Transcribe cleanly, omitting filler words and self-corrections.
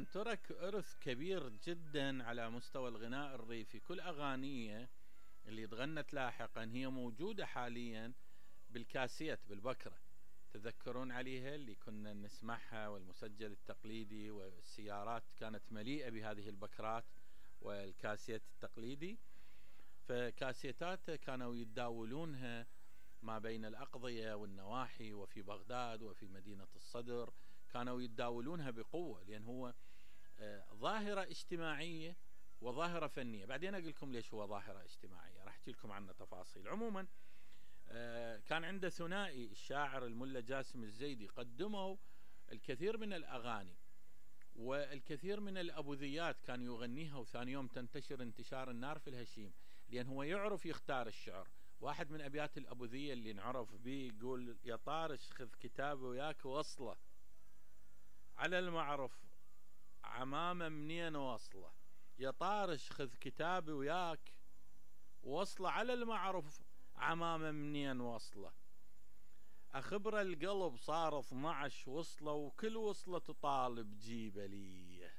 طبعا ترك إرث كبير جدا على مستوى الغناء الريفي. كل أغانيه اللي تغنت لاحقا هي موجودة حاليا بالكاسيت بالبكرة، تذكرون عليها اللي كنا نسمعها، والمسجل التقليدي، والسيارات كانت مليئة بهذه البكرات والكاسيت التقليدي. فكاسيتات كانوا يتداولونها ما بين الأقضية والنواحي، وفي بغداد وفي مدينة الصدر كانوا يتداولونها بقوة، لأن هو ظاهرة اجتماعية وظاهرة فنية. بعدين أقول لكم ليش هو ظاهرة اجتماعية، راح أحكي لكم عنه تفاصيل. عموما كان عنده ثنائي الشاعر الملا جاسم الزيدي، قدموا الكثير من الأغاني والكثير من الأبوذيات كان يغنيها، وثاني يوم تنتشر انتشار النار في الهشيم، لأن هو يعرف يختار الشعر. واحد من أبيات الأبوذية اللي نعرف به يقول: يا طارش خذ كتابي وياك وصله على المعرف عمامة منين وصله. يا طارش خذ كتابي وياك وصله على المعرف عمامة منين وصله. أخبر القلب صار 12 وصله، وكل وصلة تطالب جيبه لي.